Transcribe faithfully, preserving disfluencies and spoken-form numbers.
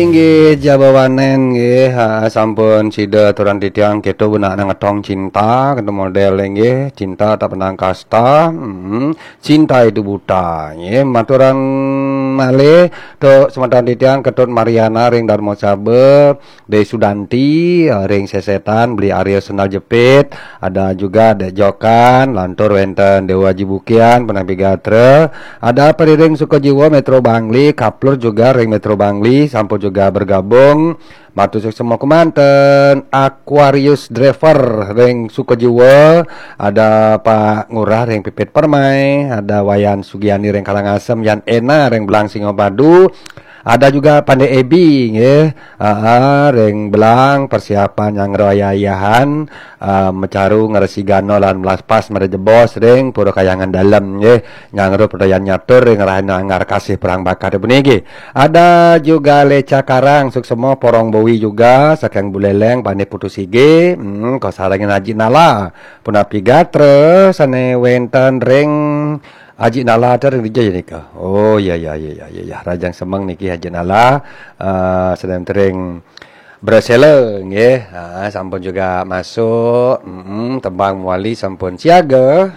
Inggih, Jabawanen nggih, ha, sampun sida aturan titiang keto benak nang ngetong cinta, keto model nggih, cinta tak pandang kasta, hmm, cinta itu buta nggih. Maturan malih tuk semeton titiang Ketut Mariana ring Darma Saba, Dai Sudanti, eh, ring Sesetan, Beli Arya Sendal Jepit, ada juga Dek Jokan, lantur wenten Dewa Jibukian, Penampi Gatra, ada Periring Sukajiwa Metro Bangli, Kaplur juga ring Metro Bangli, sampun juga bergabung. Matur suksma kemanten Aquarius Driver ring Sukajiwa, ada Pak Ngurah ring Pipit Permai, ada Wayan Sugiani ring Karangasem, Yan Ena ring Belang Singapadu, ada juga Pandai Ebi nggih, aa, ring Belang persiapan nyangro ayah-ayahan, aa, macaru ngresi gana lan melaspas mada jebos ring Pura Kayangan Dalem nggih. Nyangro pedayan nyatur ring rahina anggar kasih perang bakat puniki. Ada juga Leca Karang, suksma Porong Bowi juga, saking Buleleng, Pane Putu Sige, hmm, kasarengin Aji Nala, Punapi Gatra, sane wenten ring Aji Nala ter ring dija nika. Oh, ya, ya, ya, ya, ya, ya. Rahajeng semeng niki Aji Nala, eh, sane wenten ring Bresela nggih. Ah, sampun juga masuk. Mm-mm, tembang mawali sampun siaga.